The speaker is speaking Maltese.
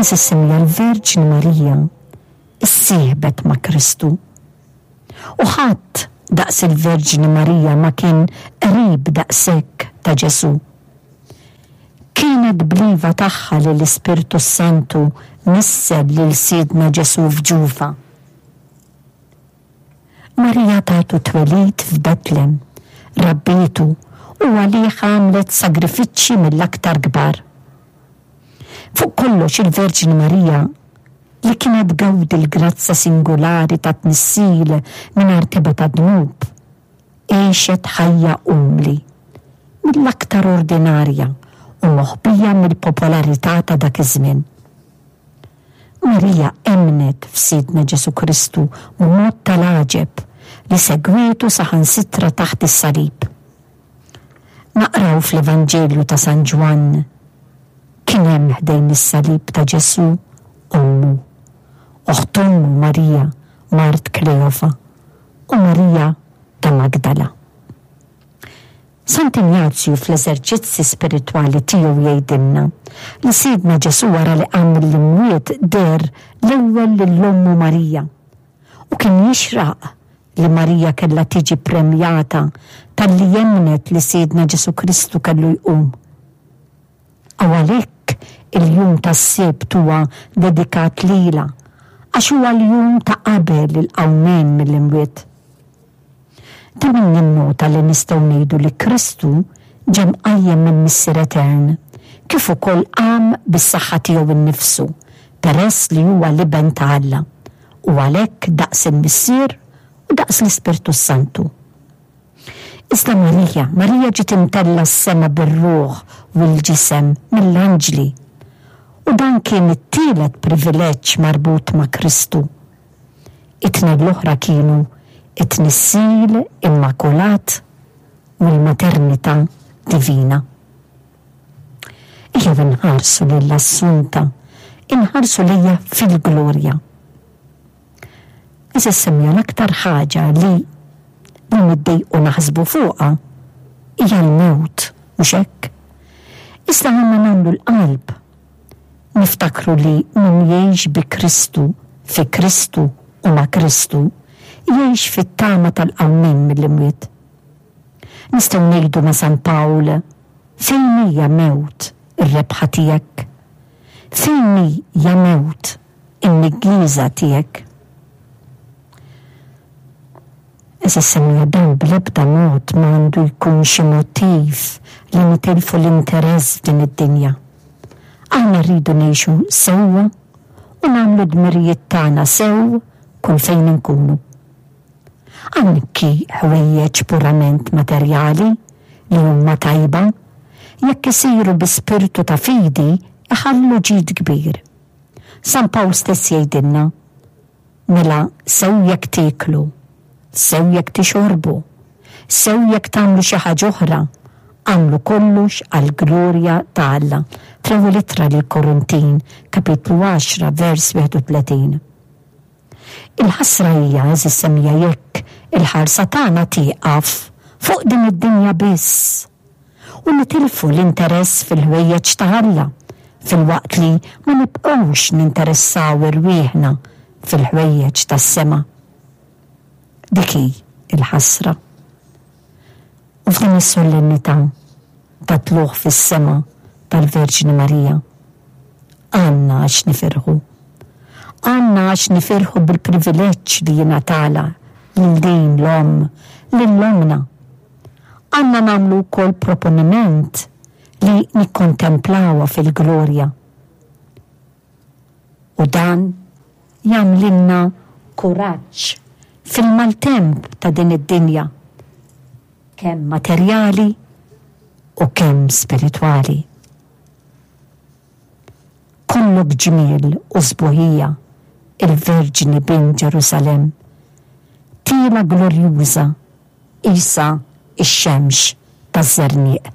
Għeżież semmiegħa l-Verġni Marija issieħbet ma' Kristu. U ħadd daqs il-Verġni Marija ma kien qrib daqshekk ta' Ġesù. Kienet bl-iva tagħha li l-Ispirtu s-Santu nissel lil Sidna Ġesù f'ġufha. Marija tatu twelid f'Betlem, rabbietu u għalih għamlet sagrifiċċji mill-aktar kbar. Fuq kollox il-Verġni Marija li kienet tgawdi l-grazzja singulari ta' tnissil mingħajr tebgħa ta' dnub, għexet ħajja umli, mill-aktar ordinarja u moħbija mill-popolarità ta' dak iż-żmien. Marija emmnet f'Sidna Ġesù Kristu b'mod tal-għaġeb li segwietu saħansitra taħt is-salib. Naqraw fl-Evanġelju ta' San Ġwann, Kien hemm ħdejn is-salib ta' Ġesù ommu, oħt ommu Marija mart Kleofa u Marija ta' Magdala. Sant'Injazju fl-Eżerċizzi Spiritwali tiegħu jgħidilna li Sidna Ġesù wara li qam mill-imwiet deher l-ewwel lil ommu Marija u kien jixraq li Marija kellha tiġi ppremjata talli emmnet li Sidna Ġesù Kristu kellu jqum. U għalhekk il-jum tas-Sibt huwa dedikat lilha, għax huwa l-jum ta' qabel il-qawmien mill-imwiet. Ta' min jinnota li nistgħu ngħidu li Kristu ġie mqajjem mill-Missier Etern, kif ukoll qam bis-saħħa tiegħu nnifsu, peress li huwa l-Iben ta' Alla, u għalhekk daqs il-Missier u daqs l-Ispirtu s-Santu. Iżda Marija, Marija ġiet imtellgħa s-sema bir-ruħ u l-ġisem mill-anġli. U dan kien it-tielet privileġġ marbut ma' Kristu. It-tnejn l-oħra kienu t-tnissil immakulat u l-maternità divina. Ejjew inħarsu lil Assunta, inħarsu lejha fil-glorja. Għeżież semmiegħa l-aktar ħaġa li li niddejqu naħsbu fuqha hija l-mewt, mhux hekk? Iżda għandna nagħmlu l-qalb. Niftakru li min jgħix bi Kristu, fi Kristu u ma' Kristu, jgħix fit-tama tal-qawmien mill-imwiet. Nistgħu ngħidu ma' San Pawl, Fejn hi ja mewt ir-rebħa tiegħek? Fejn hi ja mewt in-niggieża tiegħek? Għeżież semmiegħa dan bl-ebda mod ma għandu jkun xi motiv li nitilfu l-interess f'din id-dinja. Aħna rridu ngħixu sewwa u nagħmlu d-dmirijiet tagħna sew kull fejn inkunu. Anki ħwejjeġ purament materjali li huma tajba, jekk isiru bi spirtu ta' fidi iħallu ġid kbir. San Pawl stess jgħidilna, Mela sew jekk tieklu, sew jekk tixorbu, sew jekk tagħmlu xi ħaġa oħra, agħmlu kollox għall-glorja ta' Alla, fl-Ewwel Ittra lill-Korintin, kapitlu 10, vers 31. Il-ħasra hija, għeżież semmiegħa, jekk il-ħarsa tagħna tieqaf fuq din id-dinja biss u nitilfu l-interess fil-ħwejjeġ ta' Alla filwaqt li ma nibqgħux ninteressaw irwieħna fil-ħwejjeġ tas-sema. Dik hi l-ħasra. U f'din is-solennità ta' tlugħ fis-sema tal-Verġni Marija, għandna għax nifirħu. Għandna għax nifirħu bil-privileġġ li jingħatalha lil din l-Omm, lil Ommna. Għandna nagħmlu wkoll proponiment li nikkontemplawha fil-glorja. U dan jagħmlilna kuraġġ fil-maltemp ta' din id-dinja, kemm materjali u kemm spiritwali. Kollok ġmiel u sbuħija, il-Verġni bint Ġerusalemm, tiela glorjuża qisha x-xemx taż-żerniq.